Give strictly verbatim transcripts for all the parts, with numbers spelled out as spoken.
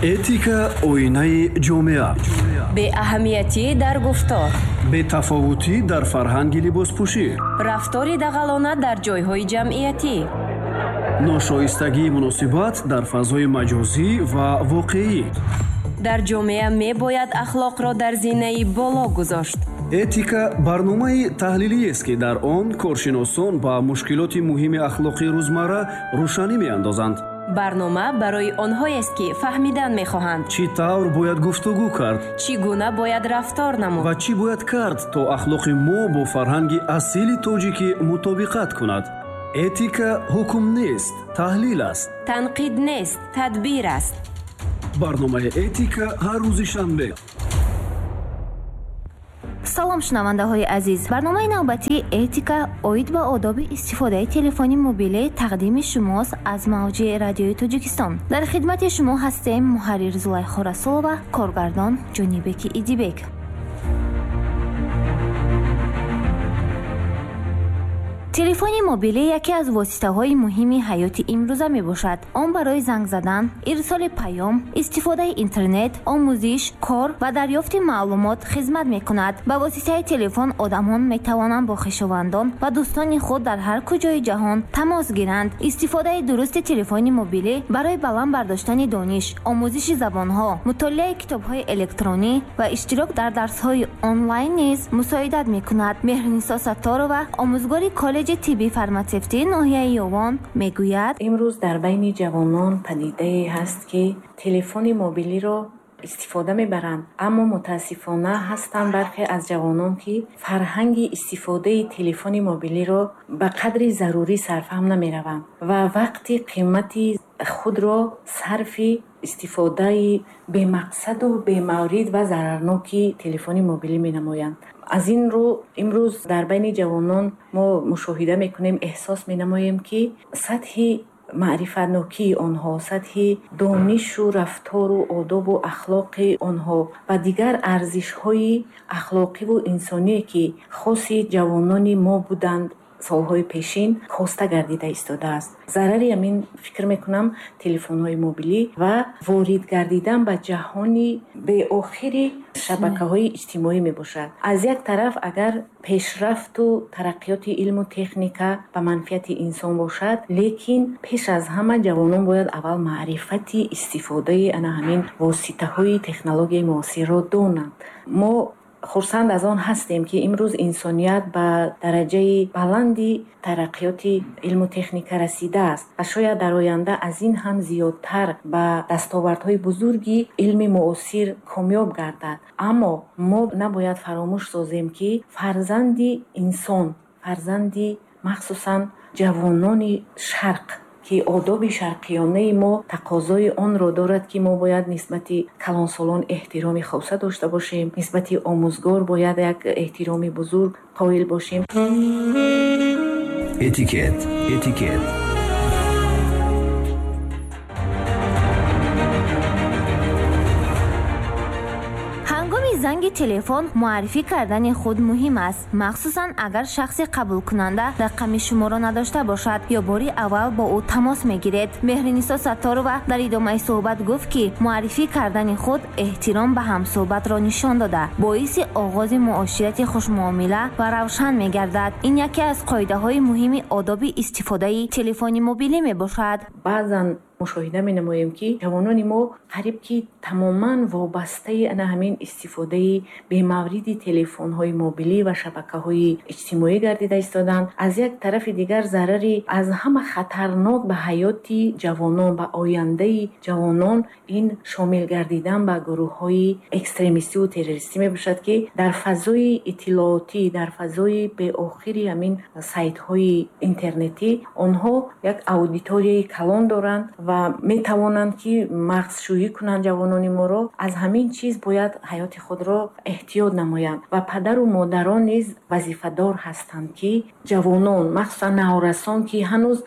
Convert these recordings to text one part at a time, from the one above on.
Этика оинаи ҷомеа. Беаҳамиятӣ дар гуфтор. Бетафовутӣ дар фарҳанги либоспӯшӣ. Рафтори дағалона дар ҷойҳои ҷамъиятӣ. Ношоистагии муносибат дар фазои маҷозӣ ва воқеӣ. Дар ҷомеа мебояд ахлоқро дар зинаи боло гузошт. Этика барномаи таҳлилиест, ки дар он коршиносон ба мушкилоти муҳими ахлоқии рӯзмарра рӯшанӣ меандозанд. Барнома барои онҳоест, ки фаҳмидан мехоҳанд. Чӣ тавр бояд гуфтугӯ кард? Чӣ гуна бояд рафтор намуд? Ва чӣ бояд кард, то ахлоқи мо бо фарҳанги асили тоҷикӣ мутобиқат кунад? Этика ҳукм нест, таҳлил аст. Танқид нест, тадбир аст. Барномаи Этика ҳар рӯзи шанбе. Салом, шунавандаҳои азиз. Барномаи навбатии Этика оид ба одоби истифодаи телефони мобилӣ тақдими шумост аз мавҷи радиои Тоҷикистон. Дар хидмати шумо ҳастем муҳаррир Зулайхо Расулова, коргардон Ҷонибеки Идибек. Телефони мобилӣ яке аз воситаҳои муҳими ҳаёти имрӯза мебошад. Он барои занг задан, ирсоли паём, истифодаи интернет, омӯзиш, кор ва дарёфти маълумот хизмат мекунад. Ба воситаи телефон одамон метавонанд бо хешовандон ва дӯстони худ дар ҳар куҷои ҷаҳон тамос гиранд. Истифодаи дурусти телефони мобилӣ барои баланд бардоштани дониш, омӯзиши забонҳо, мутолиаи китобҳои электронӣ ва иштирок дар дарсҳои онлайн низ мусоидат мекунад. Меҳринисо Сатторова, омӯзгори коллеҷи тибби фарматсевтии ноҳияи Ёвон, мегӯяд: имрӯз дар байни ҷавонон падидае ҳаст, ки телефони мобилиро истифода мебаранд, аммо мутаассифона ҳастанд бархе аз ҷавонон, ки фарҳанги истифодаи телефони мобилиро ба қадри зарурӣ сарфаҳм намераванд ва вақти қимати худро сарфи истифодаи бемақсаду бемаврид ва зарарноки телефони мобилӣ менамоянд. Аз ин рӯ имрӯз дар байни ҷавонон мо мушоҳида мекунем, эҳсос менамоем, ки сатҳи маърифатнокии онҳо, сатҳи донишу рафтору одобу ахлоқи онҳо ва дигар арзишҳои ахлоқиву инсоние, ки хоси ҷавонони мо буданд солҳои пешин, коста гардида истодааст. Зарари ҳамин, фикр мекунам, телефонҳои мобилӣ ва ворид гардидан ба ҷаҳони беохири шабакаҳои иҷтимоӣ мебошад. Аз як тараф, агар пешрафту тараққиёти илму техника ба манфиати инсон бошад, лекин пеш аз ҳама ҷавонон бояд аввал маърифати истифодаи ана ҳамин воситаҳои технологияи муосирро донанд. Мо хурсанд аз он ҳастем, ки имрӯз инсоният ба дараҷаи баланди тараққиёти илму техника расидааст ва шояд дар оянда аз ин ҳам зиёдтар ба дастовардҳои бузурги илми муосир комёб гардад. Аммо мо набояд фаромӯш созем, ки фарзанди инсон, фарзанди махсусан ҷавонони шарқ, ки одоби шарқиёнаи мо тақозои онро дорад, ки мо бояд нисбати калонсолон эҳтироми хоса дошта бошем, нисбати омӯзгор бояд як эҳтироми бузург қоил бошем. Этикет, этикет. Занги телефон муаррифӣ кардани худ муҳим аст, махсусан агар шахси қабулкунанда рақами шуморо надошта бошад ё бори аввал бо ӯ тамос мегиред. Меҳринисо Сатторова дар идомаи суҳбат гуфт, ки муаррифӣ кардани худ эҳтиром ба ҳамсуҳбатро нишон дода, боиси оғози муоширати хушмуомила ва равшан мегардад. Ин яке аз қоидаҳои муҳими одоби истифодаи телефони мобилӣ мебошад. Баъзан мушоҳида менамоем, ки ҷавонони мо қариб ки тамоман вобастаи ана ҳамин истифодаи бемавриди телефонҳои мобилӣ ва шабакаҳои иҷтимоӣ гардида истоданд. Аз як тарафи дигар, зарари аз ҳама хатарнок ба ҳаёти ҷавонон, ба ояндаи ҷавонон ин шомил гардидан ба гурӯҳҳои экстремистиву террористӣ мебошад, ки дар фазои иттилоотӣ, дар фазои беохири ҳамин сайтҳои интернетӣ онҳо як аудиторияи калон доранд ва метавонанд, ки мағзшӯӣ кунанд ҷавонони моро. Аз ҳамин чиз бояд ҳаёти худро эҳтиёт намоянд ва падару модарон низ вазифадор ҳастанд, ки ҷавонон, махсусан наврасон, ки ҳанӯз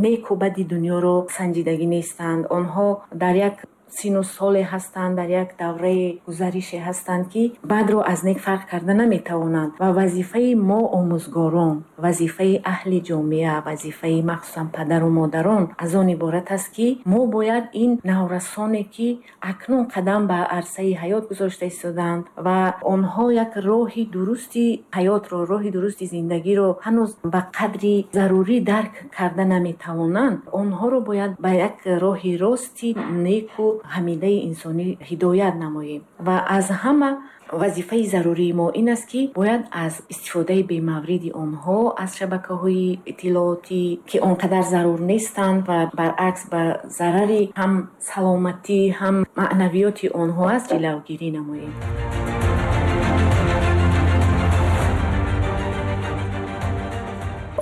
неку бади дунёро санҷидагӣ нестанд, онҳо дар як сину соле ҳастанд, дар як давраи гузарише ҳастанд, ки бадро аз нек фарқ карда наметавонанд. Ва вазифаи мо омӯзгорон, вазифаи аҳли ҷомеа, вазифаи махсусан падару модарон аз он иборат аст, ки мо бояд ин наврасоне, ки акнун қадам ба арсаи ҳаёт гузошта истодаанд ва онҳо як роҳи дурусти ҳаётро, роҳи дурусти зиндагиро ҳанӯз ба қадри зарурӣ дарк карда наметавонанд, онҳоро бояд ба як роҳи рости неку ҳамидаи инсонӣ ҳидоят намоем. Ва аз ҳама вазифаи зарурии мо ин аст, ки бояд аз истифодаи бемавриди онҳо аз шабакаҳои иттилоотӣ, ки он қадар зарур нестанд ва баръакс ба зарари ҳам саломатӣ, ҳам маънавиёти онҳо аст, ҷилавгирӣ намоем.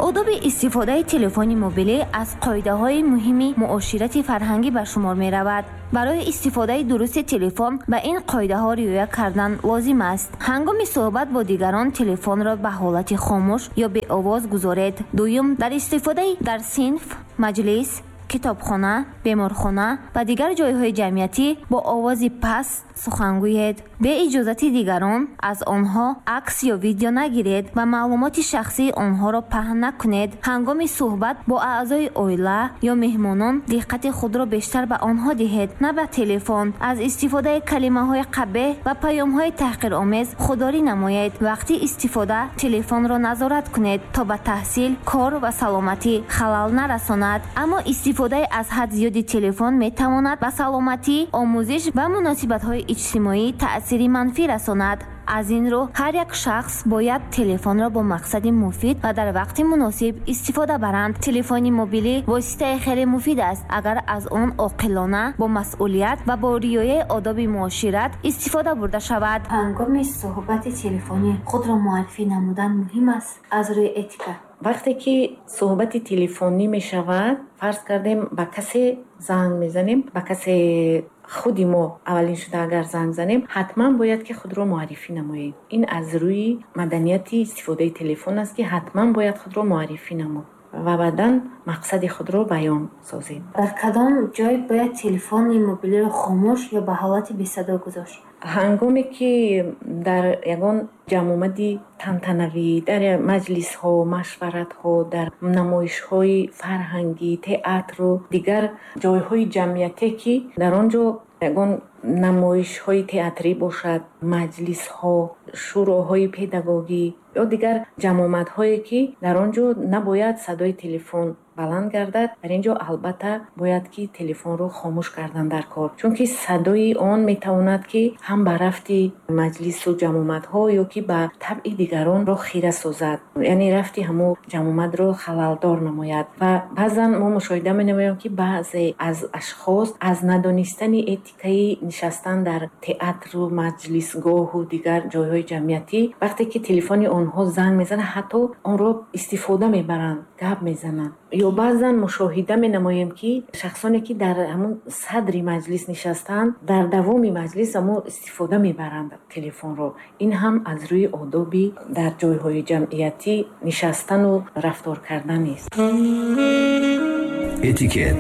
Одоби истифодаи телефони мобилӣ аз қоидаҳои муҳими муоширати фарҳангӣ ба шумор меравад. Барои истифодаи дурусти телефон ба ин қоидаҳо риоя кардан лозим аст. Ҳангоми суҳбат бо дигарон телефонро ба ҳолати хомӯш ё беовоз гузоред. Дуюм, дар истифодаи дар синф, маҷлис, китобхона, беморхона ва дигар ҷойҳои ҷамъиятӣ бо овози паст сухан гӯед. Бе иҷозати дигарон аз онҳо акс ё видео нагиред ва маълумоти шахсии онҳоро паҳн накунед. Ҳангоми суҳбат бо аъзои оила ё меҳмонон диққати худро бештар ба онҳо диҳед, на ба телефон. Аз истифодаи калимаҳои қабеҳ ва паёмҳои таҳқиромез худдорӣ намоед. Вақти истифода телефонро назорат кунед, то ба таҳсил, кор ва саломатӣ халал нарасонад. Аммо истифодаи аз ҳад зиёди телефон метавонад ба саломатӣ, омӯзиш ва муносибатҳои иҷтимоӣ таъсири манфӣ расонад. Аз ин рӯ ҳар як шахс бояд телефонро бо мақсади муфид ва дар вақти муносиб истифода баранд. Телефони мобилӣ воситаи хеле муфид аст, агар аз он оқилона, бо масъулият ва бо риояи одоби муошират истифода бурда шавад. Ҳангоми суҳбати телефонӣ худро муаррифӣ намудан муҳим аст аз рӯи этика. Вақте ки суҳбати телефонӣ мешавад, фарз кардем ба касе занг мезанем, ба касе худи мо аввалин шуда агар занг занем, ҳатман бояд ки худро муаррифӣ намоем. Ин аз рӯи маданияти истифодаи телефон аст, ки ҳатман бояд худро муаррифӣ намуд ва баъдан мақсади худро баён созем. Дар кадом ҷой бояд телефони мобилиро хомӯш ё ба ҳолати бесадо гузошт? Ҳангоме ки дар ягон ҷамъомади тантанавӣ, дар маҷлисҳо, машваратҳо, дар намоишҳои фарҳангӣ, театру дигар ҷойҳои ҷамъиятие, ки дар он ҷо ягон намоишҳои театрӣ бошад, маҷлисҳо, шӯроҳои педагогӣ ё дигар ҷамъомадҳое, ки дар он ҷо набояд садои телефон баланд гардад, дар ин ҷо албатта бояд ки телефонро хомӯш кардан дар кор, чунки садои он метавонад ки ҳам ба рафти маҷлису ҷамъомадҳо ё ки ба табъи дигаронро хира созад, яъне рафти ҳамон ҷамъомадро халалдор намояд. Ва баъзан мо мушоҳида менамоем, ки баъзе аз ашхос аз надонистани этикаи нишастан дар театру маҷлисгоҳу дигар ҷойҳои ҷамъиятӣ, вақте ки телефони онҳо занг мезанад, ҳатто онро истифода мебаранд, гап мезананд. Ё баъзан мушоҳида менамоем, ки шахсоне, ки дар ҳамон садри маҷлис нишастанд, дар давоми маҷлис ҳамон истифода мебаранд телефонро. Ин ҳам аз рӯи одоби дар ҷойҳои ҷамъиятӣ нишастану рафтор кардан нест. Этикет.